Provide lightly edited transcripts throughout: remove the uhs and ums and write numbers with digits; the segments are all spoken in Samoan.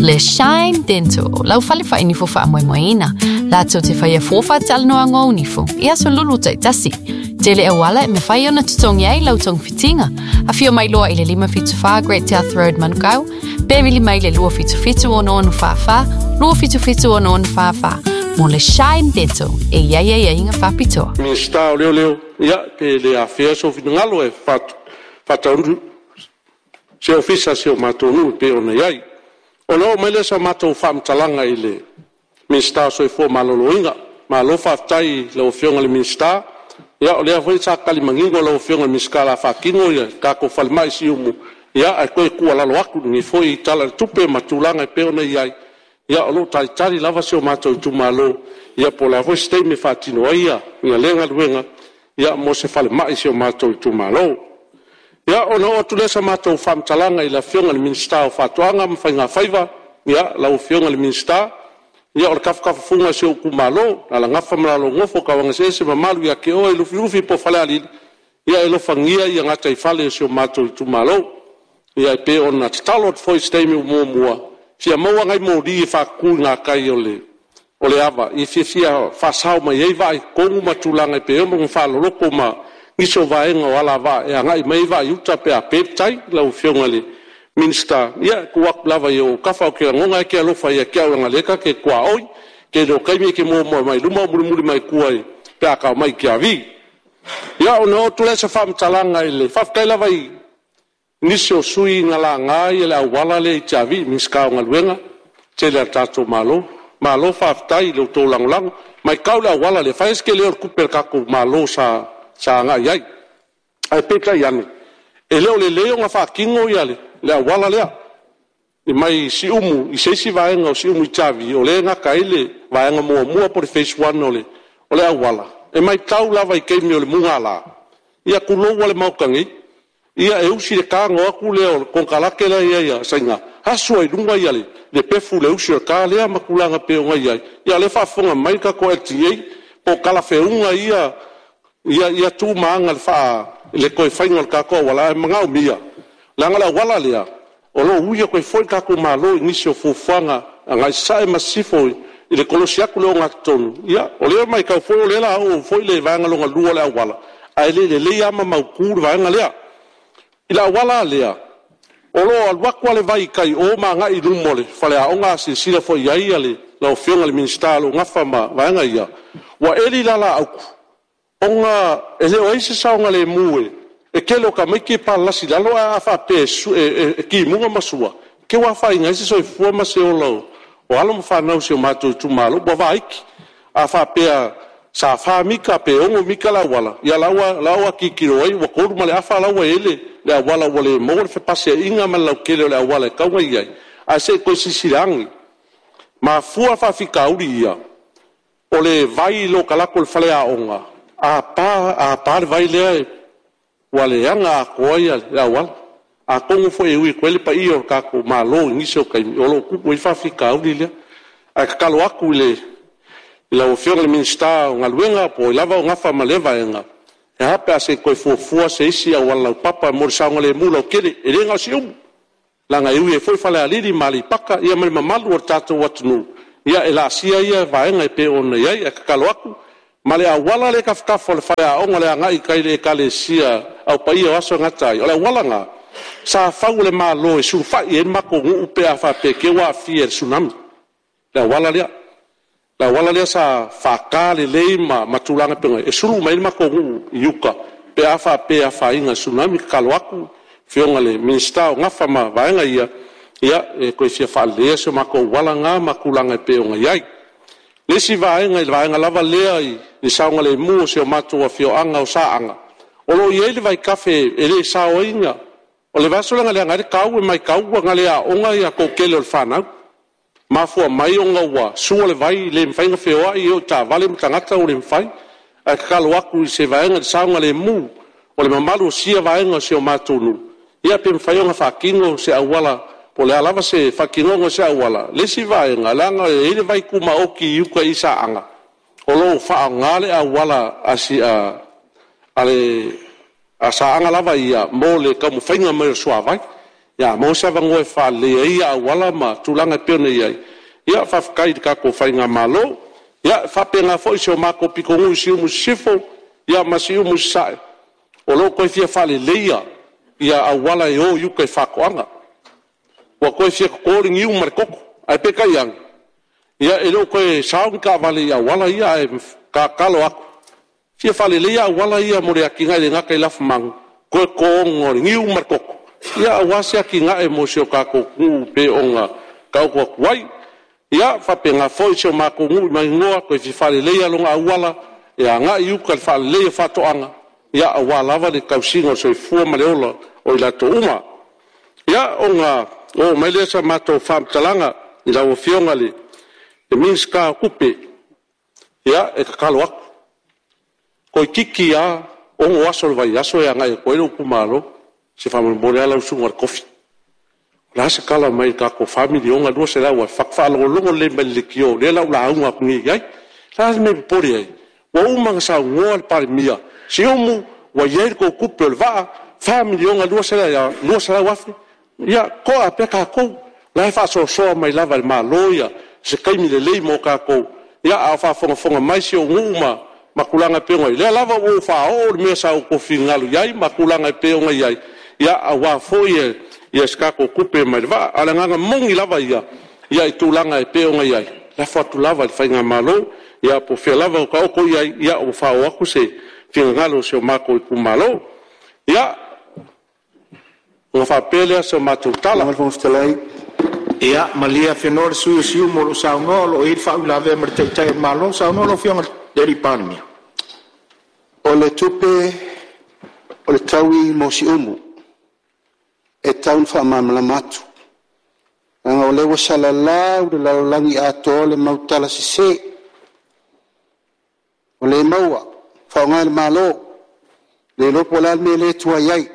Le Shine Dental, lau fale faainifo faamoemoeina. Latou te faia fua faatalanoaga o ou nifo i aso lulu taitasi. Tele auala e mafai ona totogi ai lau togafitiga. Afio mai loa i le 574 Great South Road Manukau, pe vili mai le 277 6644, 277 6644 mo le Shine Dental e i ai aiaiga faapitoa. Minisita o Leoleo, ia, pe le afea sou finagalo e faataunuu se ofisa o si o matou nuu e pei ona i ai. Ona oo mai lea o sa matou faamatalaga i le Minisita o le Soifua Maloloina. Malo faafetai i lau Afioga i le Minisita, ia o lea foi sa tali manino lau Afioga i le Minisita o le a faatino le tatou falemai i Siumu, ae toe tuualalo atu i lenei foi Tala o le Tupe ma tulaga e pei ona i ai, ia o lo o talitali lava si o matou itumalo, ia po o le a foi se taimi e faatino ai lea galuega mo se falemai i si o matou itumalo. Ia, ona oo atu lea o sa matou faamatalaga i le Afioga i le Minisita o Faatoaga ma Faigafaiva. Ia, lau Afioga i le Minisita, ia o le tafatafafuga o si ou itumalo o Alalagafa ma le Nofo a Tauagaeseese ma mamalu ia te oe Lufilufi po o Falealili, ia e alofagia gataifale o si o matou itumalo. Ia e pei ona tatalo atu foi i se taimi ua muamua, fia maua nai moli e faatutu i gatai o le ava e fiafia faasao mai ai vaa i totonu ma tulaga e pei ona faaloloto ma nisi o vaega o alavaa e agai mai ai vaa i uta pe a pe le tai. Lau Afioga i le Minisita, ia e tuu atu lava i ou autafa, ou te lagona e te alofa ia te au leaga o lea ta te tuaoi. Tele o taimi e te muamua mai luma ae ou mulimuli mai tua pe a ta omai i Tiavi. Ia, ona oo atu lea o se faamatalaga i le faafetai lava i nisi o sui usufono na laga le auala lea i Tiavi, Minisita o Galuega tetele a le tatou Malo. Malo faafetai i lo outou lagolago. E matau i le auala lea, e fai lava si tele o le tupe a le tatou Malo sa agai i ai. Ae peitai ane, e le o lelei ona faatino le auala lea mai Siumu i se isi vaega o Siumu i Tiavi, o lea e gata ai le vaega muamua po o le phase 1 o le auala. E matau lava i taimi o le mugala, ia tulou lava le Maota nei, ia e usi le ta ona o atu lea o le konekarate la e i ai a Saina asu ai i luga le pefu i le usi o le ta lea ma tulaga e pei ona i ai. Ia o lea e faafofoga mai le tatou LTA, po o talafeauga ia tu ma aga i le toe faiga o le tatou auala, ae manaomia, leaga o le auala lea, o lo o ui atu ai foi le tatou Malo i nisi o fuafuaga agai sasae ma sisifo i le kolosi atu o le ogatotonu. Ia, o lea e matau foi o lea o le a oo foi le vaega lona lua o le auala, ae le i lelei lava ma mautu le vaega lea. I le auala la lea, o lo o alu atu lava le vai i tai i o ma agai i luma o le faleaoga, a silasila foi i ai lau Afioga i le Minisita o lo o nafa ma vaega ia, ua eli le alaautu ona e le o i ai se saogalemu. E tele o tamaiti e palalasi i lalo, ae a faapea e timuga ma sua, te i ua afaina ai se soifua ma se ola o alo ma fanau a si o matou itumalo. Ua vaiti. A faapea sa 4 mita pe 6 mita le auala, ia o la ua tilotilo ai ua 3 ma le afa la ua i ai le auala ua le maua le fepasiaiga ma le lautele o le auala e tatau ona i ai, ae se i toe silasila ane. Mafua faafitauli ia, o le vai i le talaatu o le faleaoga, a pa le vai lea, ua leaga atoa le auala. Atonu foi e ui atu ai le paia o le tatou Malo i nisi o taimi o lo o tupu ai le faafitauli lea. Ae tatalo atu i lau Afioga i le Minisita o Galuega po o ai lava o nafa ma lea vaega, e a pe a se i toe fuafua se isi auala laupapa mo le saogalemu lautele. E le na o Siumu, leaga e ui ai foi Falealili ma Aleipata ia ma le mamalu o le tatou atunuu e laasia ia vaega e pei ona i ai. Ae tatalo atu, ma le auala lea e i tafatafa o le faleaoga i le agai i tai i le Ekalesia Au Paia o Aso e Gata ai, o le auala lena sa fau e le Malo e sulufai i ai le matou nuu pe a faapea e te i ua aafia i le Tsunami, le auala lea. Le auala lea sa faata lelei ma tulaga e pei ona i ai, e sulu uma ai le matou nuu i uta pe a faapea e afaina i le Tsunami. E tatalo atu i lau Afioga i le Minisita o nafa ma vaega ia, ia e toe fia faaleleia si o matou auala lena ma tulaga e pei ona i ai. O le isi vaega i le vaega lava lea i le saogalemu o si o matou afioaga o Saaga, o lo o i ai le vaitafe e le saoina. O le vaiaso lea na leaga ai le tau, e matau na le aoga le toatele o le fanau, mafua mai ona ua sua le vai, le mafai ona feoai, e oo i taavale ma tagata ua le mafai. Ae tatalo atu i se vaega i le saogalemu o le mamalu o sia vaega o si o matou nuu, ia pe mafai ona faatino se auala po o le a lava se faatinoga o se auala. O le isi vaega, leaga e i ai le vai tumaoti i uta i Saaga, o lo o faaaoga le auala a Saaga lava ia mo le taumafaiga mai o le suavai. Ia, a maua se avanoa e faaleleia ai auala ma tulaga e pei ona i ai, ia faafetai i le tatou faigamalo. Ia, e faapena foi si o matou pitonuu i Siumu Sisifo ma Siumu Sasae, o lo o toe fia faaleleia auala e o i uta i faatoaga. Ua toe fia toto le niu ma le toto, ae peitai ane, ia e le o toe sao ni taavale i auala ia, ae tatalo atu, fia faaleleia auala ia mo le atinae e le gata i lafumanu, toe totoina o le niu ma le toto, aua se atinae mo si o tatou atunuu e pei ona taoto atu ai. Ia, e faapena foi si o matou nuu i Maninoa, toe fia faaleleia lona auala e agai i uta i le faaleleia o faatoaga, aua lava le tausiga o le soifua ma le ola o i latou uma. Ia, ona oo mai lea o sa matou faamatalaga i lau Afioga i le Minisita o Tupe, ia, e tatalo atu, toeitiiti lava 6 aso o le vaiaso e agai atu ai lou itumalo, se faamolemole lava lau susuga i le tofi, o le a se tala mai i le tatou $4,200,000? Faatoa faalogologo lelei mai i le leitio o lea o le a ou lauga atu nei i ai. O le a le mea e popole ai? Ua uma ona saunoa le Palemia, Siumu, ua i ai le tou tupe o le vaa, $4,200,000, ia toa pea tatou. O la e faasoasoa mai lava e le Malo se taimi lelei mo tatou, a o faafogafoga mai si ou nuu ma tulaga e pei ona i ai, o lea lava ua ou faaoo le mea sa outou finagalo i ai ma tulaga e pei ona i ai, aua foi se tatou tupe mai le vaa. A o le agaga moni lava ia i tulaga e pei ona i ai, lafo atu lava i le faigamalo, ia po o fea lava o taoto i ai, ia ua faaoo atu se finagalo o si o matou itumalo. Ia, ona faapea lea o se matou tala, Lau Afioga i le Fofoga Fetalai… Ia malie afenoa le sui usufono o Siumu o lo o saunoa, o lo o i ai le faauilavea ma le Taitai o le Malo. Saunoa lau Afioga i le Palemia. O le tupe o le taui mo Siumu, e tatau ona faamalamalama atu, leaga o lea ua salalau i le lalolagi atoa le mau tala sese, ua le maua, faaaoga e le Malo, le iloa po o le a le mea lea e tuai ai.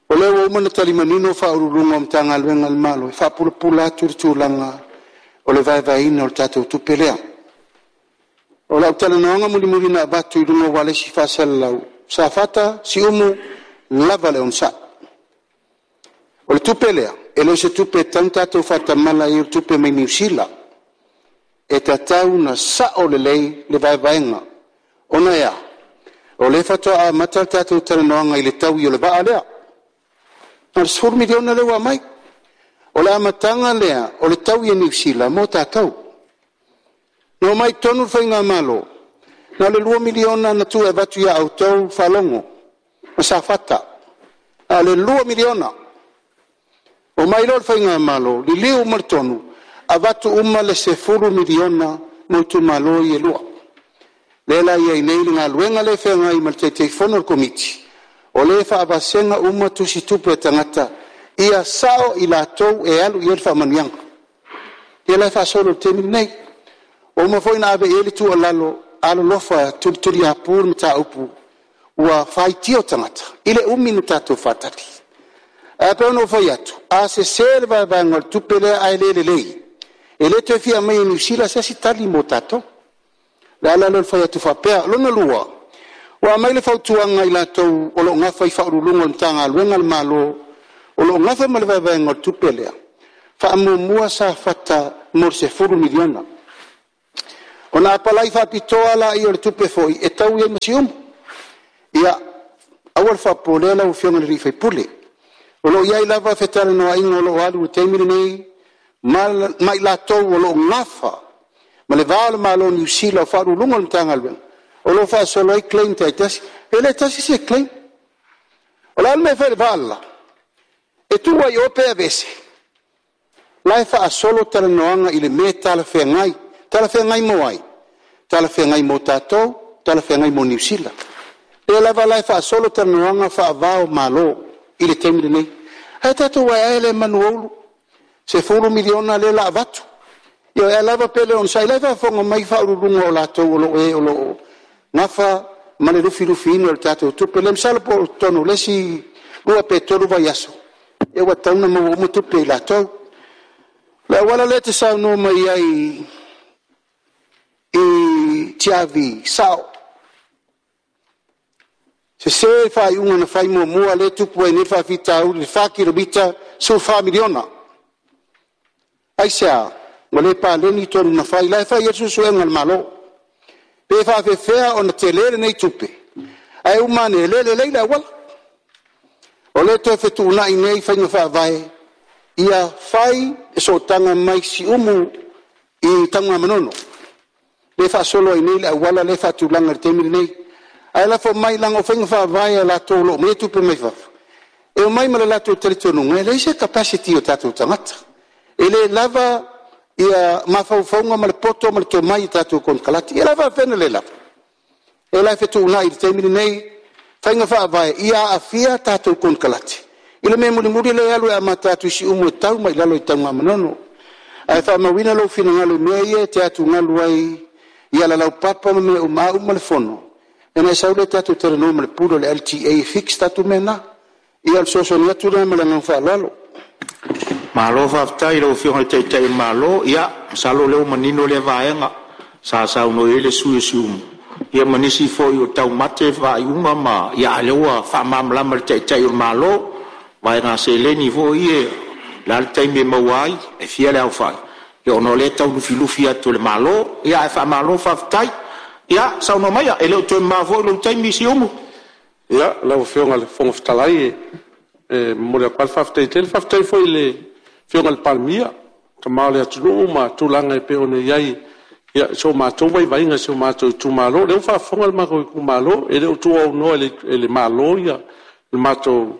O lea ua uma ona tali manino Ofisa Sili o Pulega o Matagaluega a le Malo e faapulapula atu le tulaga o le vaevaeina o le tatou tupe lea. O lau talanoaga mulimuli na avatu i luga o ualesi faasalalau, Safata, Siumu, lava le onosai. O le tupe lea, e le o se tupe e tatau ona tatou faatamala i ai o le tupe mai Niu Sila. E tatau ona sao lelei le vaevaega, ona e a? O lea faatoa amata le tatou talanoaga i le taui o le vaa lea, na o le $10 miliona lea ua aumai. O le amataga lea o le taui e Niu Sila mo tatou. Na omai i totonu le faigamalo, na o le $2 miliona na tuu e avatu ia outou Faalogo ma Safata, na o le $2 miliona. Omai loa le faigamalo liliu uma le tonu, avatu uma le $10 miliona mo itumalo ia e lua. Lea la e i ai nei le galuega lea e feagai ma le Taitaifono o le Komiti, o lea e faavasega uma tusitupe a tagata ia sao i latou e alu i ai le faamanuiaga. Ia la e faasolo i le taimi lenei. Ua uma foi ona ave i ai le tuualalo, alolofa tulituliapu le mataupu ua faitio tagata i le umi ona tatou faatali. Ae pei ona ou fai atu, a sese le vaevaega o le tupe lea ae le lelei, e le toe fia aumaia e Niu Sila se isi tali mo tatou. O le ala lea o le fai atu faapea. O lona lua, ua aumai le fautuaga a i latou o lo o nafa i Ofisa Sili o Pulega o Matagaluega a le Malo o lo o nafa ma le vaevaega o le tupe lea, faamuamua Safata mo le $10 miliona, ona apalai faapitoa lea o le tupe foi e taui ai ma Siumu. Ia, aua le faapopoleina lau Afioga i le sui usufono, o lo o i ai lava fetalanoaiga o lo o alu i le taimi lenei ma i latou o lo o nafa ma le va o le Malo o Niu Sila, o Ofisa Sili o Pulega o le Matagaluega o lo o faasolo ai claims taitasi. E le tasi se claim. O le a le mea e fai i le vaa le la? E tuu lava i o pe aveese? O la e faasolo talanoaga i le mea e talafeagai. Talafeagai mo ai? Talafeagai mo tatou, talafeagai mo Niu Sila. O lea lava la e faasolo talanoaga faava o Malo i le taimi lenei. Ae tatou ae ae lea i manu o Ulu, $10 miliona lea o le a avatu. Ia o ai lava pe le onosai, o la e faafofoga mai Ofisa Sili o Pulega o latou o lo o e o lo o nafa ma le lufilufiina o le tatou tupe lea. Masalo po o totonu o le isi 2 pe 3 vaiaso ia ua tatau ona maua uma tupe e i latou. O le auala lea e te saunoa mai ai i Tiavi, e sao. Sese le faaiuga na fai muamua lea e tupu ai nei le faafitauli i le 4 kilomita $14 miliona. Aisea? Ua le paleni tonu na fai, la e fai i ai suesuega a le Malo, pe faapefea ona tele lenei tupe ae uma ane e le lelei le auala. O lea e toe fetuunai nei faiga faavae ia fai le sootaga mai Siumu i Tanugamanono lea e faasolo ai nei le auala lea e faatulaga i le taimi lenei. Ae lafo mai leaga o faiga faavae a latou o lo o aumaia tupe mai fafo, e omai ma le latou talitonuga e leai se capacity o tatou tagata, e le lava mafaufauga ma le poto ma le tomai i tatou konekarate. Ia o le a faapefea ona le lava? O lea la e fetuunai i le taimi lenei faiga faavae ia aafia tatou konekarate i le mea mulimuli lea e alu e amata atu i Siumu e tau mai i lalo i Tanugamanono. Ae faamauina lou finagalo i mea ia e te atugalu ai i auala laupapa ma mea uma, a uma le fono ona e sau lea tatou talanoa ma le Pule o le LTA e fix tatou mea na. Ia o le fesoasoani atu lena ma le agaga faaaloalo. Malo faafetai i lau Afioga i le Taitai o le Malo. Ia masalo o lea ua manino lea vaega sa saunoa i ai le sui usufono o Siumu, ia ma nisi foi ua taumate faaiuga ma… a o lea ua faamalamalama e le Taitai o le Malo vaega seleni foi ia, o le a le taimi e maua ai, e fia le aofai, ona o lea e tau lufilufi atu e le Malo. Ae faamalo faafetai. Ia saunoa maia, e le o toe mamao foi lou taimi Siumu. Ia, lau Afioga i le Fofoga Fetalai, e momoli atu lava le faafetai tele. Faafetai foi i le Afioga i le Palemia, le Tama o le atunuu ma tulaga e pei ona i ai i so matou vaivaiga i si o matou itumalo. O lea ua faafofoga le matou itumalo, e le o tuuaunoa e le Malo le matou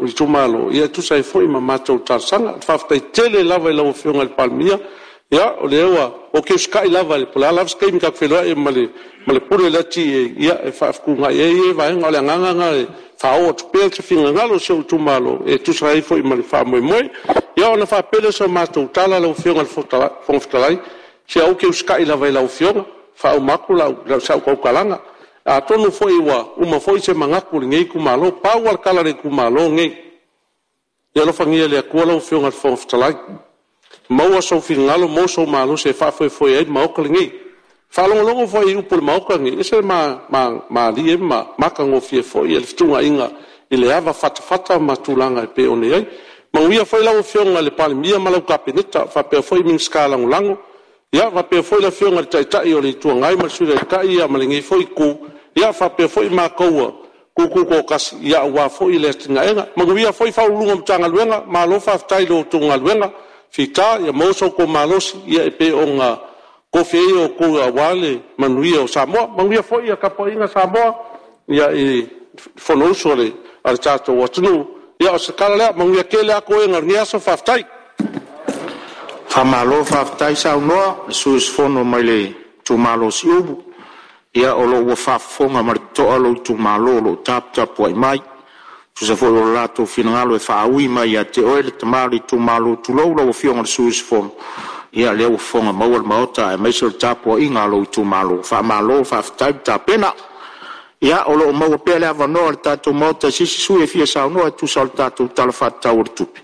itumalo e tusa ai foi ma matou talosaga. Faafetai tele lava i lau Afioga i le Palemia, ia o lea ua ou te usitai lava po o le a lava se taimi ta te feiloai ai ma le Pule o le LTA e faafetuunai ai ia vaega. O le agaga lena e faaoo atu pea se finagalo o si ou itumalo e tusa ai foi ma le faamoemoe. Ia ona faapea lea o se matou tala lau Afioga i le Fofoga Fetalai, se ou te usitai lava i lau Afioga, e faauma atu sau tautalaga. Atonu foi ua uma foi se manatu o lenei itumalo. Pau lava le tala a le itumalo lenei, ia alofagia e le Atua lau Afioga i le Fofoga Fetalai, maua sou finagalo maua sou malosi e faafoefoe ai le Maota lenei. E faalogologo foi i upu a le Maota lenei, e ese le malie ma matagofie foi le fetuunaiga i le ava fatafata ma tulaga e pei ona i ai. Manuia foi lau Afioga i le Palemia ma lau Kapeneta, faapea foi Minisita Lagolago, ia faapea foi le Afioga i le Taitai o le Itu Agai ma le Sui Taitai ma lenei foi Itu, ia faapea foi matou ua tututoatasi aua foi le atinaeina. Manuia foi Ofisa Sili o Pulega o Matagaluega, malo faafetai i la outou galuega fita, ia maua so outou malosi e pei ona tofia ai outou aua le manuia o Samoa. Manuia foi le tapuaiga a Samoa i le Fonousu a le tatou atunuu. Ia o se tala lea, manuia tele lava toega o lenei aso, faafetai. Faamalo faafetai saunoa i le sui usufono mai le itumalo o Siumu. Ia o lo o ua faafofoga ma le totoa lou itumalo o lo o taputapuai mai e tusa foi o lo latou finagalo e faaui mai ia te oe le tama o le itumalo, tulou lau Afioga i le sui usufono. Ia o lea ua fofoga maua le Maota aemaise o le tapuaiga a lou itumalo, faamalo faafetai le tapena. Ia o lo o maua pea le avanoa o le tatou Maota i se isi sui usufono e fia saunoa e tusa o le tatou Tala Faatatau o le Tupe.